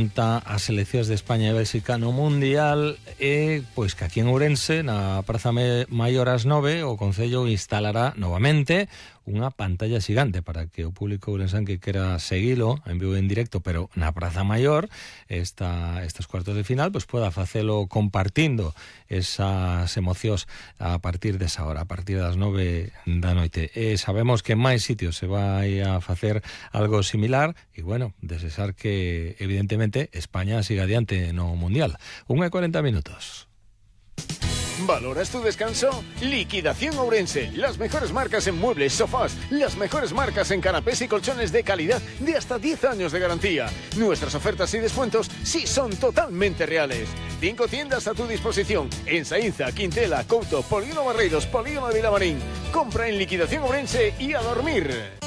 As seleccións de España e Bélxica no Mundial e pois que aquí en Ourense, na Praza Maior ás 9, o Concello instalará novamente unha pantalla xigante para que o público ourensán que quera seguilo en vivo e en directo, pero na Praza Maior estes cuartos de final, pois poda facelo compartindo esas emocións a partir desa hora, a partir das 9 da noite. E sabemos que en máis sitios se vai a facer algo similar e, bueno, desexar que, evidentemente, España siga adiante no Mundial. 1:40 minutos. ¿Valoras tu descanso? Liquidación Ourense. Las mejores marcas en muebles, sofás, las mejores marcas en canapés y colchones de calidad de hasta 10 años de garantía. Nuestras ofertas y descuentos sí son totalmente reales. 5 tiendas a tu disposición en Saínza, Quintela, Couto, Polígono Barreiros, Polígono de Vilamarín. Compra en Liquidación Ourense y a dormir.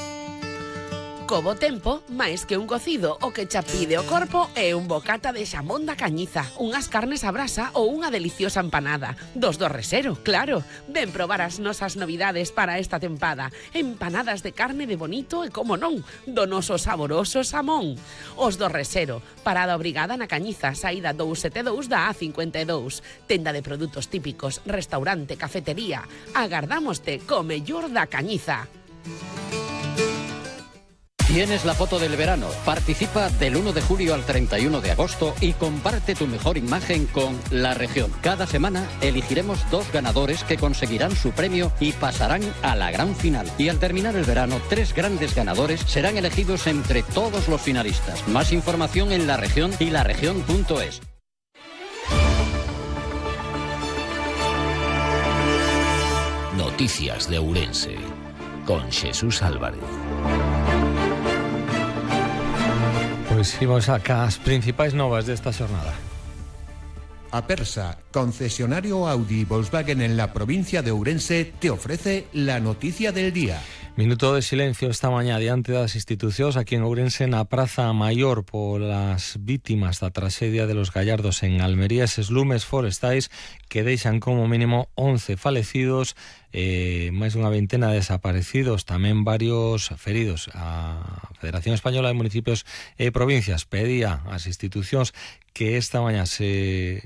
Co bo tempo, máis que un cocido, o que xa pide o corpo é un bocata de xamón da Cañiza, unhas carnes a brasa ou unha deliciosa empanada. Dos do Resero, claro. Ven probar as nosas novidades para esta tempada. Empanadas de carne de bonito e, como non, do noso saboroso xamón. Os do Resero, parada obrigada na Cañiza, saída 272 da A52. Tenda de produtos típicos, restaurante, cafetería. Agardámoste co mellor da Cañiza. Tienes la foto del verano. Participa del 1 de julio al 31 de agosto y comparte tu mejor imagen con La Región. Cada semana elegiremos 2 ganadores que conseguirán su premio y pasarán a la gran final. Y al terminar el verano, 3 grandes ganadores serán elegidos entre todos los finalistas. Más información en La Región y laregion.es. Noticias de Ourense con Jesús Álvarez. Pois imos acá as principais novas desta xornada. Apersa, concesionario Audi y Volkswagen en la provincia de Ourense, te ofrece la noticia del día. Minuto de silencio esta mañá diante das institucións aquí en Ourense na Praza Maior polas vítimas da traxedia de los Gallardos en Almería, eses lumes forestais que deixan como mínimo 11 falecidos, máis dunha veintena de desaparecidos, tamén varios feridos. A Federación Española de Municipios e Provincias pedía ás institucións que esta mañá se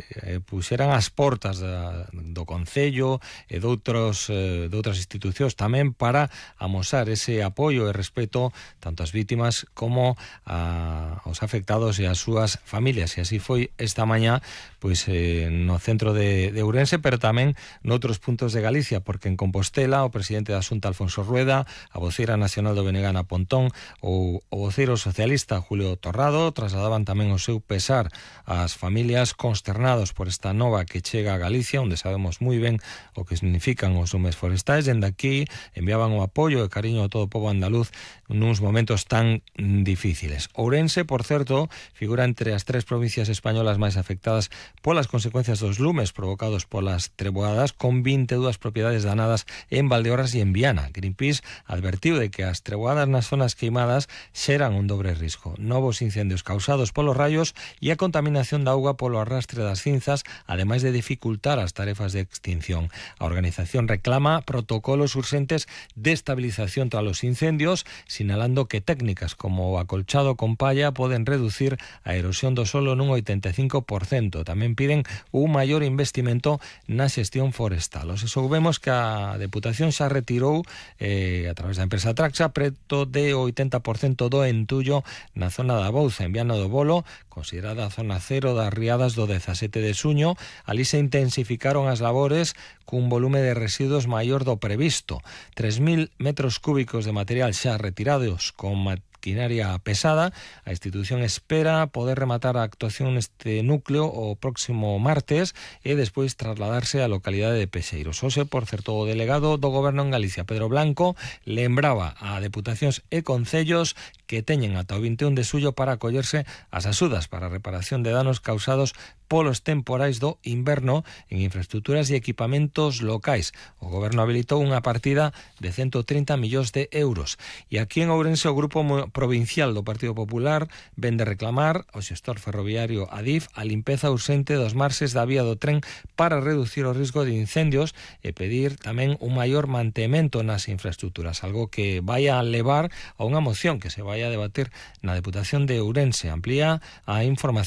puxeran as portas do Concello e de outras institucións tamén para amosar ese apoio e respeto tanto ás vítimas como aos afectados e ás súas familias. E así foi esta mañá pois no centro de Ourense, pero tamén noutros puntos de Galicia, porque en Compostela o presidente da Xunta Alfonso Rueda, a voceira nacional do BNG Ana Pontón ou o voceiro socialista Julio Torrado trasladaban tamén o seu pesar ás familias consternados por esta nova que chega a Galicia, onde sabemos moi ben o que significan os lumes forestais. Dende aquí enviaban o apoio e cariño a todo o pobo andaluz nuns momentos tan difíciles. Ourense, por certo, figura entre as 3 provincias españolas máis afectadas polas consecuencias dos lumes provocados polas treboadas, con 22 propiedades danadas en Valdeorras e en Viana. Greenpeace advertiu de que as treboadas nas zonas queimadas xeran un dobre risco: novos incendios causados polos raios e a contaminación da auga polo arrastre das cinzas, ademais de dificultar as tarefas de extinción. A organización reclama protocolos urxentes de estabilización tras os incendios, sinalando que técnicas como o acolchado con palla poden reducir a erosión do solo nun 85%. Tamén piden un maior investimento na xestión forestal. Os soubemos que a Deputación xa retirou a través da empresa Traxa preto de 80% do entullo na zona da Bouza, en Viana do Bolo, considerada a zona cero das riadas do 17 de xuño. Ali se intensificaron as labores cun volume de residuos maior do previsto. 3.000 metros cúbicos de material xa retirados con maquinaria pesada. A institución espera poder rematar a actuación neste núcleo o próximo martes e despois trasladarse á localidade de Pexeiros. Hoxe, por certo, o delegado do Goberno en Galicia, Pedro Blanco, lembraba a deputacións e concellos que teñen ata o 21 de xullo para acollerse ás axudas para a reparación de danos causados polos temporais do inverno en infraestructuras e equipamentos locais. O Goberno habilitou unha partida de 130 millóns de euros. E aquí en Ourense o Grupo provincial do Partido Popular ven de reclamar ao xestor ferroviario Adif a limpeza urxente dos marxes da vía do tren para reducir o risco de incendios e pedir tamén un maior mantemento nas infraestructuras, algo que vai a levar a unha moción que se vai a debater na Deputación de Ourense. Amplía a información